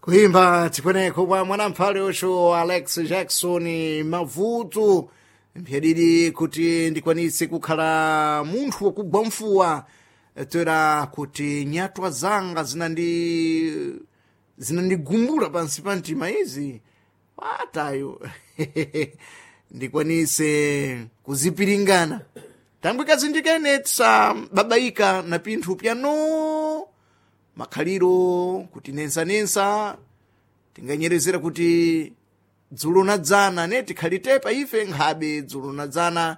Kuimba tikweneko kwa mwanamphale ucho Alex Jackson Mavuto, mphyadidi kuti ndikwanise kukhala munthu wakugwa mfuwa, toera kuti nyatwa zanga zinandigumbula pansi pa mtima izi patayo ndikwanise kuzipiringana tangwe kazindikene tisababaika na pinthu pyano makhaliro kuti nensanensa tinganyerezera kuti dzulo na dzana ne tikhali tepa ife nkhabe dzulo na dzana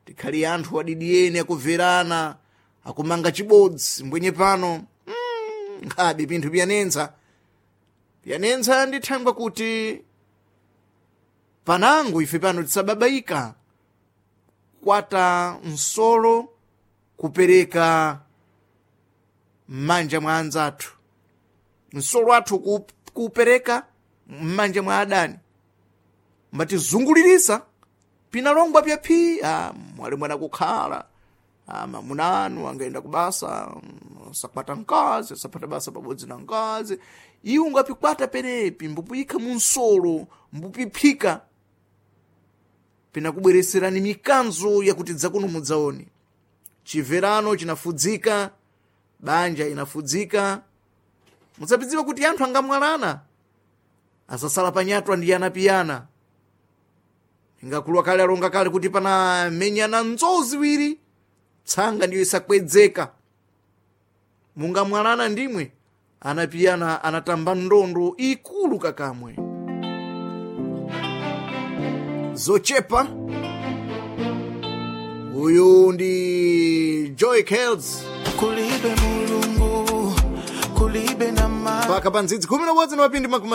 tikhali anthu adidiyeni akumverana akumanga chibodzi mbwenye pano nkhabe pinthu pyanensa pyanensa ndithangwa kuti panango ife pano tisababaika kwata msolo kupereka m'manja mwa anzathu, msolo athu kuupereka m'manja mwa adani mbatizungulirisa pinalongwa pyaphi mwali mwana kukhala mamuna anu angaenda kubasa sakwata mkazi sapata basa pabodzi na mkazi iwe ungapikwata penepi mbupuyikha mu msolo mbupiphika pinakubwereserani mikanzo yakuti dzakuno mudzaone chimverano chinafudzika, banja inafudzika. Mudzapidziwa kuti anthu angamwalana asasala panyatwa ndi anapiyana ingakuluwa kale alonga kale kuti panamenyana nzowu ziwiri tsanga ndiyo isakwedzeka mungamwalana ndimwe anapiyana anatamba ndondo ikulu kakamwe zochepa. Uyu ndi Joy Kells. Kulibe Mulungu, kulibe na Paka pa ndzidzi 11 na mapindi makumi.